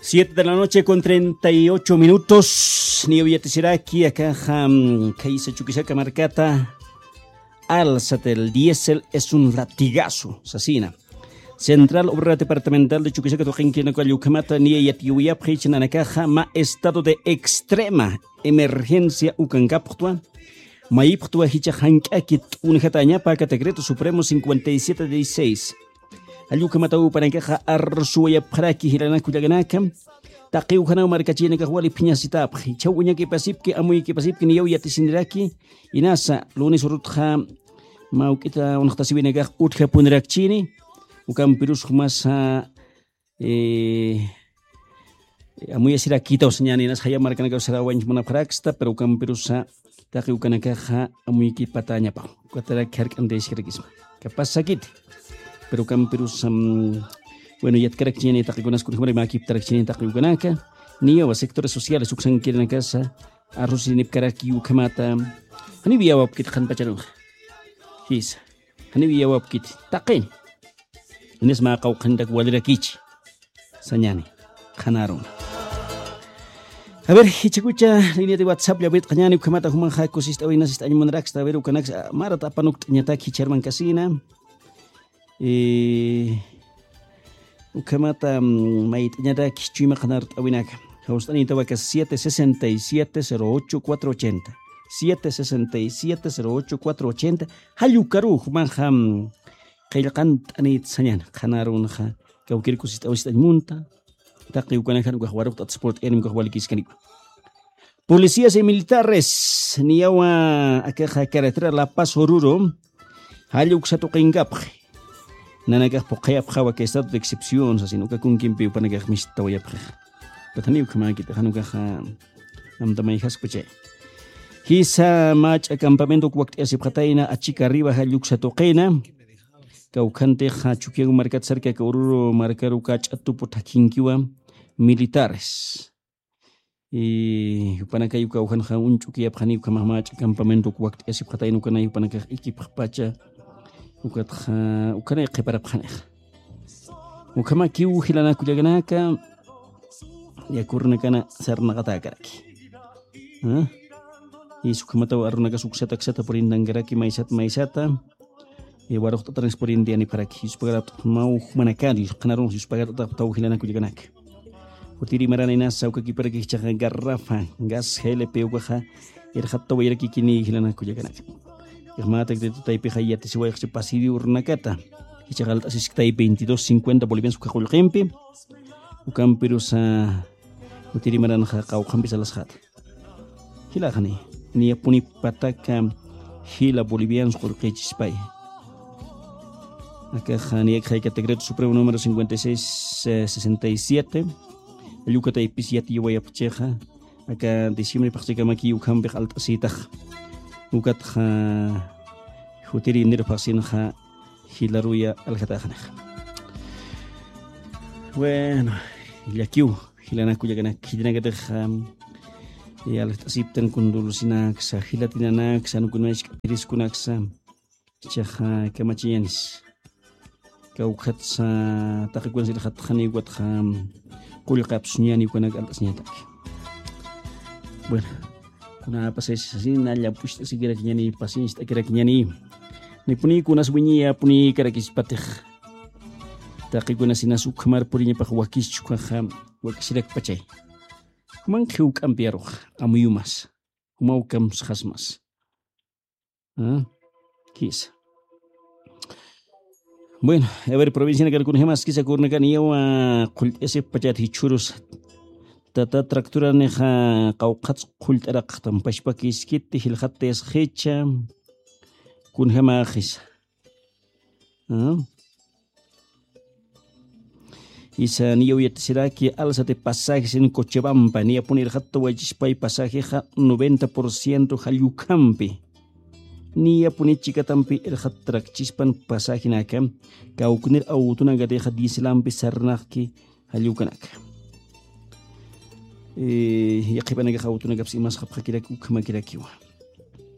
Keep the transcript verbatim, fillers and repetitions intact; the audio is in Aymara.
Siete de la noche con treinta y ocho minutos. Niyaw yatisiraki, akaxa, mm, kaysa Chuquisaca markata. Alza del diésel es un latigazo, sasina. Central Obrera Departamental de Chuquisaca tuqinkirinaka ukhamata niya yatiyawayapxi, chinanakaxa mä estado de extrema emergencia ukankapxtwa. Mayipxtwa jichha jank'aki t'unjatañapa aka decreto supremo cincuenta y siete dieciséis. Jall ukhamataw jupanakaxa arsuwayapxaraki jilanaka kullakanaka. Taqi ujanaw markachirinakax wali phiñasitapxi. Jichhaw uñakipasipki, amuyakipasipki, niyaw yatisiniraki. Inasa, lunes urutxa mä juk'ita unxtasiwinakax utjapunirakchini. Ukampirus jumasa, eh, amuyasirakitaw sañäni, inas jaya markanakaw sarawañch munapxaraksta, pero ukampirusa taqi ukanakaxa amuykipatäñapaw. Ukatarak jark'antayasikarakisma. Capaz sakiti. Pero ukampirusa, mm, bueno, yatkarakchiñäni taqikunas kunjamari mäkiptarakchiñäni taqi ukanaka. Niyawa sectores sociales uksankirinakasa arrusinipkaraki ukhamata. Janiw iyawapkit qhanpacharunxa. Jisa. Janiw iyawapkit. Taqin. Inis mä qawqhantak walirakichi. Sañäni. Qhanarun. A ver, jichhakucha línea de WhatsApp llawirt'añäni ukhamata jumanxa kusist'awinasist'añ munaraksta. A ver, ukanaksa, ah, marat apanukt'añatak jichharman kasina. Eh, ukhamata, mm, mayt'añataki chuyma qhanart'awinaka. Jawst'anïtawaka siete sesenta y siete cero ocho cuatro ochenta. Siete sesenta y siete cero ocho cuatro ochenta. Jall ukaru jumanxa, mm, qillqant'anït sañäni. Qhanarunxa kawkïr kusist'awist'añ munta. Taqi ukanakxa ukax waruqt'at sport'ayanim ukax walikiskaniwa. Policías y militares, niyawa akaxa carretera La Paz Oruro, jall uksa tuqinkapxi. Nanakax phuqhayapxawa aka estado de excepción, sasin uka kunkimpi jupanakax mistawayapxixa. Patani ukhamäkiti, jan ukaxa amta mayjaskpachay. Jisa mach'a campamento uk wakt'ayasipxatayna, achika arriba jall uksa tuqina. Kawkhantixa Chukiyawu markat cerca aka Oruro markaru kach'a tupu thakhinkiwa militares. Y jupanakay uka ujanxa uñch'ukiyapxani ukhamax mach'a campamento uk wakt'ayasipxatayna ukanay jupanakax ikipxpacha ukatxa ukanay qhiparapxanixa. Ukhamakiw jilanaka kullakanaka yakurunakana sarnaqatäkaraki. ¿Ah? Y ukhamataw arunakax uksata uksata purintankaraki maysat maysata. Eh, waruqt'atanis purinti yanipxaraki. Yuspagarapt'apxmaw jumanakari, qhanarunx yuspagarapt'apxtaw jilanaka kullakanaka. Jutiri maranïnasa ukakiparaki jichhaxa garrafa, gas G L P ukaxa, irxattawayrakikini jilanaka kullakanaka. Ixmatak de tutaypixa yatisiwayxchi pasiri urunakata. Jichhaxa alt'asisktay veintidós cincuenta bolivianos uka qullqimpi. Ukampirusa, jutiri maranxa qawqhampi salasxata. Jilaxani, niyapuni pataka jila bolivianos qullqichispay. Akaxa niyakxayka decreto supremo número cincuenta y seis, eh, sesenta y siete. Jall ukataypis yatiyawayapxichixa. Aka diciembre phaxchikamaki ukhampix alt'asïtax. Ukatxa jutiri enero phaxsinxa jilaruya aljataxanixa. Bueno, llakiw. Jilanaka kullakanaka, khitinakatix, am, eh, aljt'asiptan kundulsinaksa, jilatinanaksa, jan ukunay ch'apiriskunaksa, jichhaxa kamachañänis. Kawkhatsa, taqikunas irxatxani ukatxa, am, qullqapsuñäni ukanak alt'asiñataki. Bueno, kuna pasaysa sasina, llamp'ucht'asikirakiñäni, pacienciat'akirakiñäni. Nipuni kunas wiñiyapuni karakisipatix. Taqikunas inas ukhamar puriñapax wakischu ukaxa, wakisirakpachay. Jumanx juk'ampi aruxa, amuyumas. Jumaw kamsxasmas. ¿Ah? Jisa. Bueno, a ver, provincianakan kunjamaskisa kurnakan yawa qullt'asipxpachat jichhürus. Tata tractoranixa qawqhats qullt'araqxtam pachpakiskiti jilxattayasxicha. Kunjamaxisa. ¿Ah? Isa niyaw yatisiraki alza de pasajes en Cochabamba, niyapuni irxattawaychispay pasajexa noventa por ciento jall ukhampi. Niyapuni chikatampi irxattarakchispan pasajenaka, kawknir awtunakatixa dieselampi sarnaqki jall ukanaka. Eh, yaqhipanakax awtunakapis imasxapxakiraki ukhamakirakiwa.